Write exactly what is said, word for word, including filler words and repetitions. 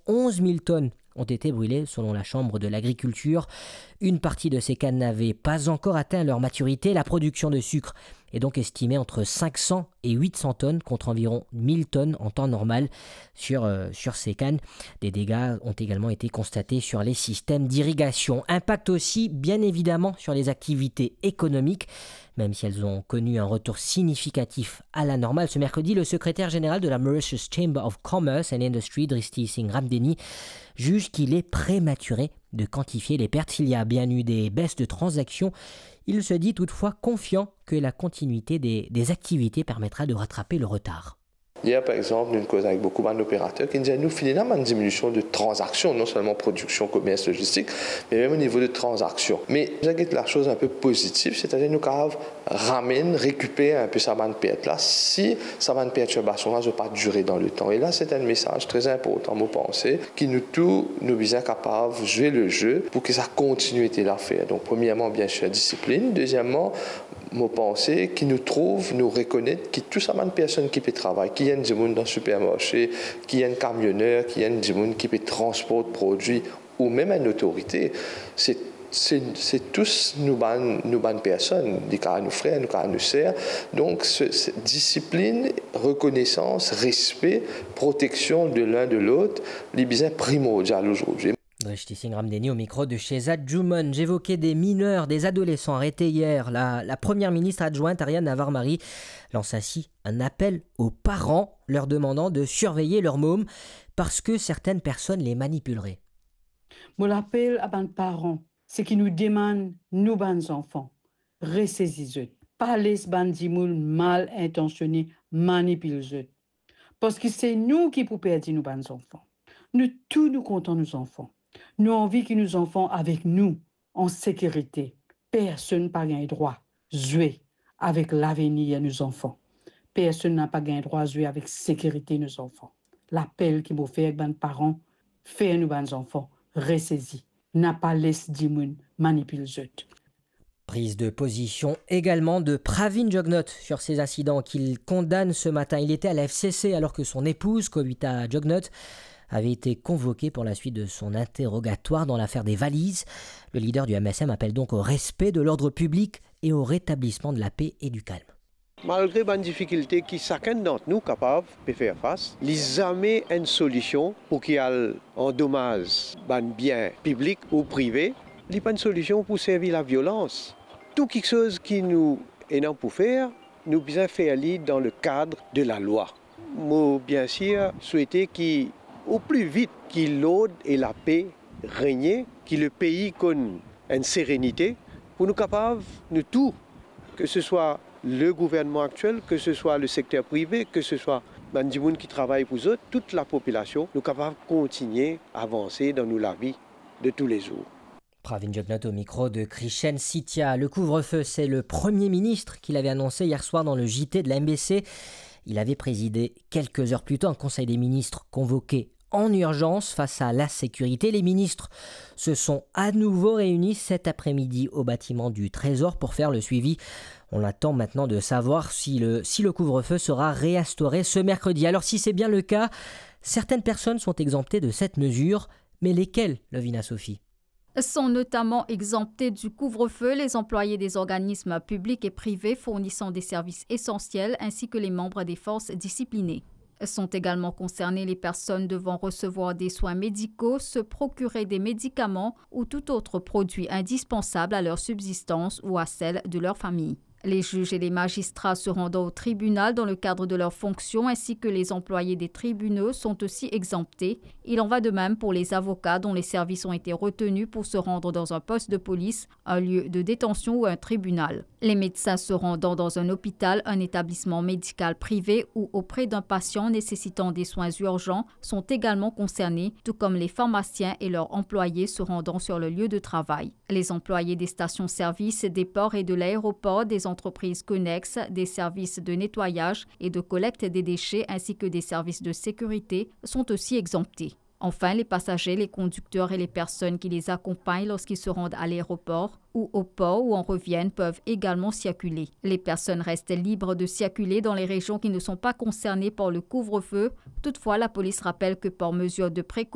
Onze mille tonnes ont été brûlées, selon la Chambre de l'Agriculture. Une partie de ces cannes n'avait pas encore atteint leur maturité. La production de sucre est donc estimée entre cinq cents et huit cents tonnes, contre environ mille tonnes en temps normal sur, euh, sur ces cannes. Des dégâts ont également été constatés sur les systèmes d'irrigation. Impact aussi, bien évidemment, sur les activités économiques. Même si elles ont connu un retour significatif à la normale ce mercredi, le secrétaire général de la Mauritius Chamber of Commerce and Industry, Drishti Singh Ramdheni, juge qu'il est prématuré de quantifier les pertes. S'il y a bien eu des baisses de transactions, il se dit toutefois confiant que la continuité des, des activités permettra de rattraper le retard. Yer, par exanp, nou koz avek boukou bann operater ki dir nou finn ena bann diminision de tranzaksion, non selman prodiksion, komers, logistik, me mem o nivo de tranzaksion. Me nou get lasoz inpe pozitif, setadir nou kapav ramenn, rekiper inpe sa bann pert la, si sa bann pertirbasion la, zot pa dire dan letan. E la, se enn mesaz tre inportan, mo panse, ki nou tou, nou bizin kapav zwe le ze pou ki sa kontinie ete la fer. Donk, premierman, biensir, disiplin. Dezieman, mo panse ki nou trouv, nou rekonet ki tou sa bann personn ki pe travay, ki enn dimoun dan sipermarse, ki enn kamioner, ki enn dimoun ki pe transport prodwi, ou mem enn otorite, se, se, se tous nou bann, nou bann personn, li kapav nou frer, nou kapav nou ser. Donk, se, se disiplin, rekonesans, respe, proteksion de l'un de l'autre, li bizin primordial ozordi. Drishti Singh Ramdheni au micro de Shehzad Jumon. J'évoquais des mineurs, des adolescents arrêtés hier. La, la première ministre adjointe Ariane Navarre-Marie lance ainsi un appel aux parents leur demandant de surveiller leurs mômes parce que certaines personnes les manipuleraient. Mo lapel a bann paran, seki nou demann nou bann zanfan, resezi zot. Pa les bann dimoun mal intansione manipil zot. Parski se nou ki pou perdi nou bann zanfan. Nou tou nou kontan nou zanfan. Nou anvi ki nou zanfan avek nou, an sekirite. Personn pa gagn drwa zwe avek lavenir nou zanfan. Personn napa gagn drwa zwe avek sekirite nou zanfan. Lapel ki mo fer ek bann paran, fer nou bann zanfan resezi. Napa les dimoun manipil zot. Prise de position également de Pravin Jugnauth sur ces incidents qu'il condamne ce matin. Il était à la F C C alors que son épouse, Kowita Jugnauth, avait été convoquée pour la suite de son interrogatoire dans l'affaire des valises. Le leader du M S M appelle donc au respect de l'ordre public et au rétablissement de la paix et du calme. Malgre bann difikilte ki sakenn dant nou kapav pe fer fas, li zame enn solision pou ki al andomaz bann bien piblik ou prive, li pa enn solision pou servi laviolans. Tou kiksoz ki nou ena pou fer, nou bizin fer li dan le kad de lalwa. Mo biensir swete ki o pli vit ki lord e lape regne, ki lepei konn enn serenite, pou nou kapav, nou tou, ke se swa le gouvernman aktiel, ke se swa le sekter prive, ke se swa bann dimoun ki travay pou zot, tout lapopilasion, nou kapav kontigne avanse dan nou lavi de toulezour. Pravin Jugnauth au micro de Krishen Sethia. Le couvre-feu, c'est le Premier ministre qui l'avait annoncé hier soir dans le J T de la M B C. Il avait présidé quelques heures plus tôt un conseil des ministres convoqué en urgence face à l'insécurité. Les ministres se sont à nouveau réunis cet après-midi au bâtiment du Trésor pour faire le suivi. On attend maintenant de savoir si le, si le couvre-feu sera réinstauré ce mercredi. Alors, si c'est bien le cas, certaines personnes sont exemptées de cette mesure. Mais lesquelles, Lovina Sophie ? Sont notamment exemptés du couvre-feu les employés des organismes publics et privés fournissant des services essentiels ainsi que les membres des forces disciplinées. Sont également concernées les personnes devant recevoir des soins médicaux, se procurer des médicaments ou tout autre produit indispensable à leur subsistance ou à celle de leur famille. Les juges et les magistrats se rendant au tribunal dans le cadre de leurs fonctions ainsi que les employés des tribunaux sont aussi exemptés. Il en va de même pour les avocats dont les services ont été retenus pour se rendre dans un poste de police, un lieu de détention ou un tribunal. Les médecins se rendant dans un hôpital, un établissement médical privé ou auprès d'un patient nécessitant des soins urgents sont également concernés, tout comme les pharmaciens et leurs employés se rendant sur le lieu de travail. Les employés des stations-service, des ports et de l'aéroport, des entreprises connexes, des services de nettoyage et de collecte des déchets ainsi que des services de sécurité sont aussi exemptés. Enfin, les passagers, les conducteurs et les personnes qui les accompagnent lorsqu'ils se rendent à l'aéroport ou au port ou en reviennent peuvent également circuler. Les personnes restent libres de circuler dans les régions qui ne sont pas concernées par le couvre-feu. Toutefois, la police rappelle que par mesure de précaution,